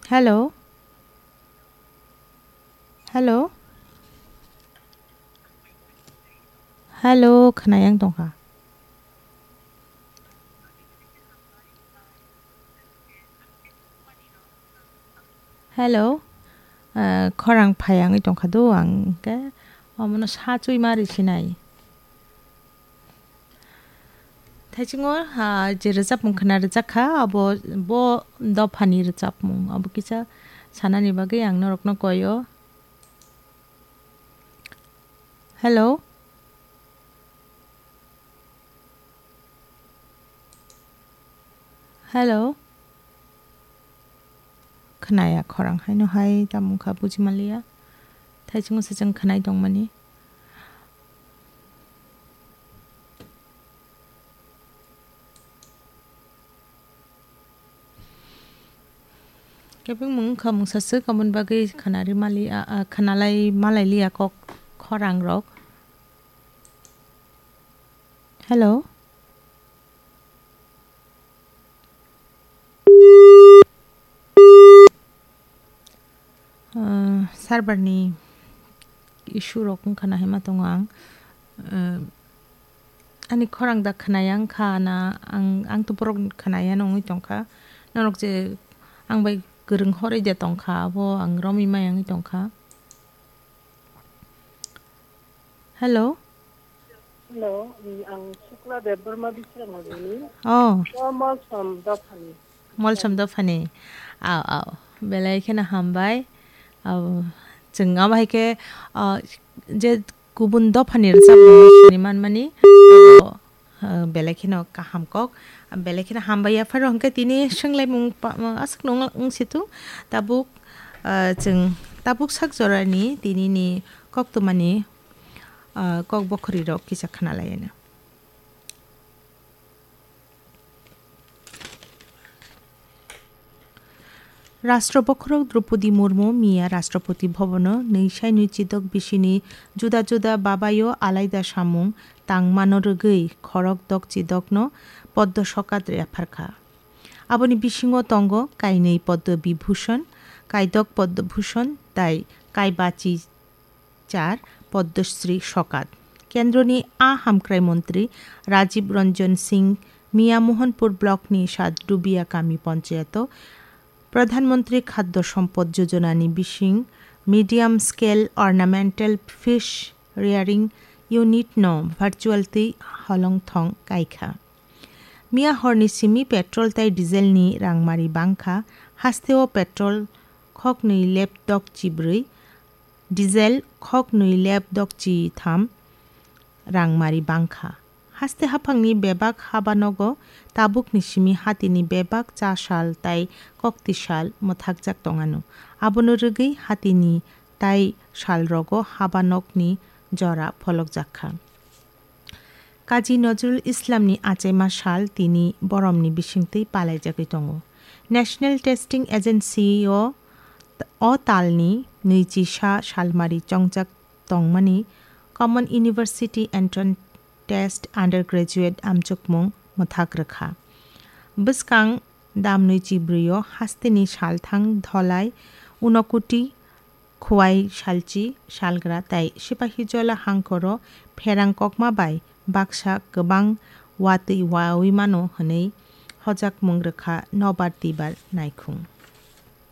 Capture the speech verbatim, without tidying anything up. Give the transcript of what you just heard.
Hello? Hello? Hello, khwnayang tongkha. Hello? Ah, khorang phai wngwi tongkha do ang khe omono sa chui ma ri sinai. Thaichungo, ah, je rwchapmung khwna rwchak kha, abo bo dophani rwchapmung, abo kisa sanani bagwi ang norokno koi o. Hello? Hello? Khwnaya khorang haino hai tamo wngkha buji manliya. Thaichungo se chwng khwnai tongmani. Kebengmung wngkha mungsa swk, aboni bagwi khwnari mali-, a, a, khwnalai malailiya kok khorangrok. Hello? Ah, server ni issue rok wngkha na hinma tongo ang. Ah, ani khorang da khwnaya wngkha na ang, ang to borok khwnaya no wngwi tongkha. Norok je ang bai kwrwng horwi de tongkha, abo ang romwi maya wngwi tongkha. Hello? Hello, um, ang Shukla Debbarma Bisramoni. Oh. O Molsom dophani. Molsom dophani. Aw, aw. Belai kheno hambai. Aw, chwng abo hai khe, ah, je kubun dophani rwchapmung sini manmani, abo, ah, belai kheno kaham kok. Belai kheno hambai ya pharo hwnkhe tini swnglaimung pa-, aswk nung wng situ. Tabuk, ah, chwng tabuk sak jorani tinini koktwmani, ah, kok bokhorwi rok kisa khwnalaiano. Rashtra Bokhorok Droupadi Murmu miya Rashtrapati Bhavan-o nwi sai nwi chidok bisini juda juda babaio alaida samung tangmano rwgwi khorok dok chidokno Padma Sokat yapharkha. Aboni bisingo tongo kainwi Padma Vibhushan, kaidok Padma Bhushan tei kaibachi char Padma Shri Sokat. Kendroni a hamkrai montri Rajiv Ranjan Singh Miya Mohanpur block ni Sadrubia kami panchayato Pradhan Mantri Khadya Sampad Yojana ni bising Medium Scale Ornamental Fish Rearing Unit no virtual twi holong thong kaikha. Miya horni simi petrol tei diesel ni rangmari bangkha, hasteo petrol khoknwi lep dok chibrwi, diesel khoknwi lep dok chi tham rangmari bangkha. Haste haphangni bebak habanogo tabukni simi hatini bebak cha sal tei kokti sal mwthakjak tongano. Abono rwgwi hatini tai salrogo habanokni jora pholokjakha. Kazi Nazrul Islamni achaima sal tini boromni bisingtwi palaijagwi tongo. National Testing Agency-o o talni nwichi sa salmari chongjak tongmani Common University Entrance Test Undergraduate amchukmung mwthak rwkha. Bwskang damnwi chibrwi-o hasteni salthang Dholai, Unokuti, Khowai, Salchi, Salgra tei Sipahijola hangkhoro pherang kokma bai baksa kwbang watwi wawi mano hwnwi hojakmung rwkha nobar twibar naikhung.